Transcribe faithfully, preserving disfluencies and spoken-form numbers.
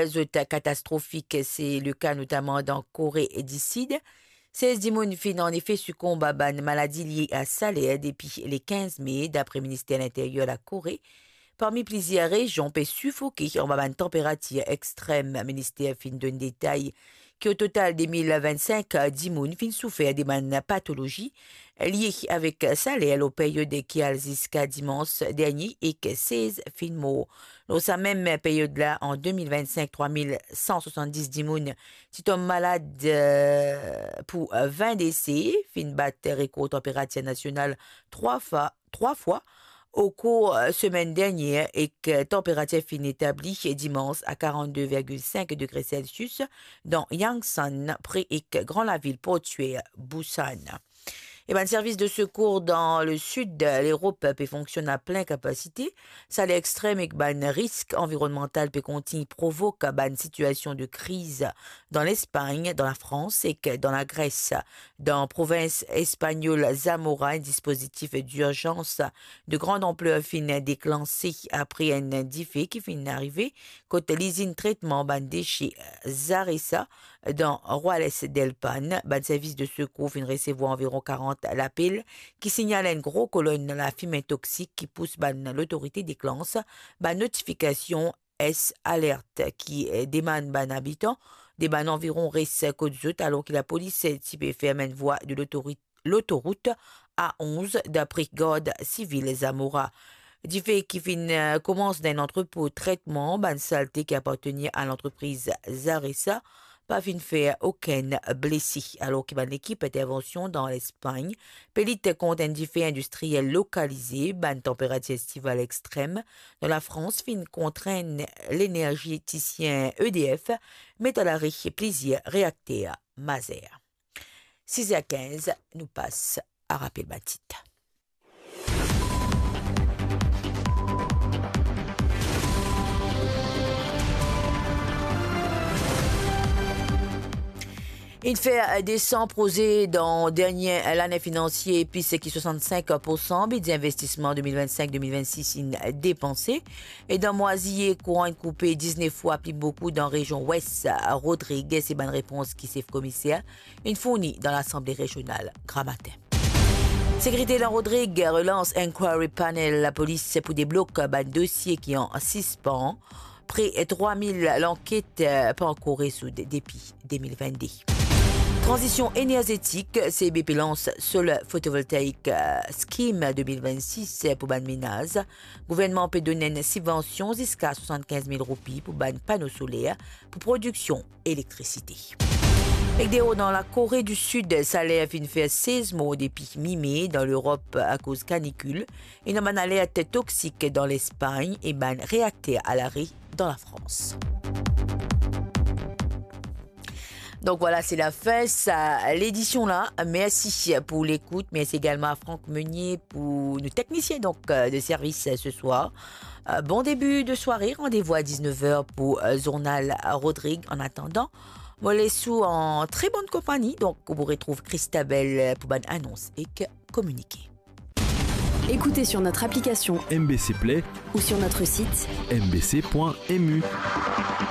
zot katastrofik, se le ka notaman dan Kore di Sid. Sez dimoun finn anefe sikonb a bann maladi lie a saler depi le kinz me, dapre Minister Linteryer Lakore. Parmi plizier rezion pe sifoke anba bann tanperatir extrem, minister finn donn detay ki o total de mil vennsink dimoun finn soufer de bann patolozi lie avek saler lor period ki al ziska dimans dernie ek sez finn mor. Lor sa mem period la, an de mil vennsink, trwa mil san swasanndis dimoun ti tom malad, eh, pou, eh, vin dese, finn bat rekor tanperatir nasional trwa fwa, trwa fwa okour, eh, semenn dernie, ek, eh, tanperatir finn etabli dimans a karannde virgil sink degre Celsius dan Yangsan, pre ek gran lavil portier Busan. E bann servis de sekour dan le sid Lerop pe fonksionn a plin kapasite. Saler extrem ek bann risk anvironnmantal pe kontign provok bann sitiasion de kriz dan Lespagn, dan Lafrans ek dan Lagres. Dan provins espagnol Zamora, enn dispozitif dirzans de grand anpler finn deklanse apre enn dife ki finn arive kot lizinn tretman bann dese Zaresa, dan Ruelas del Pan. Bann servis de sekour finn resevwar anviron karant lapel ki signal enn gro kolonn lafime toksik ki pous bann lotorite deklans bann notifikasion S Alert ki, eh, demann bann abitan de bann anviron res kot zot, alor ki lapolis ti pe ferm enn vwa de lotori-, lotorout A onz, dapre Gard Sivil Zamora. Dife ki finn, eh, koumans dan enn antrepo tretman bann salte ki apartenir a lantrepriz Zaresa pa finn fer okenn blese, alor ki bann lekip intervansion dan Lespagn pe lit kont enn dife indistriel lokalize. Bann tanperatir estival extrem dan Lafrans finn kontrenn lenerzitisien E D F met a lare plizier reakter mazer. Siz er kinz, nou pas a rapel bann tit. Inn fer de san proze dan dernie lane finansie, plis ki swasannsink poursan bidze investisman de mil vennsink de mil vennsis inn depanse. E dan mwa ziye, kouran inn koupe diznef fwa pli boukou dan rezion Wes Rodrig. Se bann repons ki sef komiser inn fourni dan Lasanble Rezional Gramatin. Sekirite dan Rodrig relans Inquiry Panel lapolis pou deblok bann dosie ki an sispan. Pre trwa mil lanket, eh, pa ankor rezoud depi de mil vennde. Tranzision enerzetik, C B P lans Solar Photovoltaic, eh, Scheme de mil vennsis pou bann menaz. Gouvernman pe donn enn sibvansion ziska swasannkinz mil roupi pou bann pano soler pou prodiksion elektrisite. Ek deor dan Lakore di Sid, saler finn fer sez mor depi mi-me dan Lerop akoz kanikil. Ena bann alert toksik dan Lespagn e bann reakter a lare dan Lafrans. Donk vwala, se lafin sa ledision la. Mersi pou lekout. Mersi egalman a Franck Meunier pou nou teknisien, donk, euh, de servis, euh, ce soir. Euh, bon début de soirée. Rendez-vous à dix-neuf heures pour, euh, Journal Rodrig. En attendant, mo les ou an très bonne compagnie. Donk, ou pou retrouv Christabel, euh, pou bann anons ek kominike. Écoutez sur notre application M B C Play ou sur notre site M B C point M U.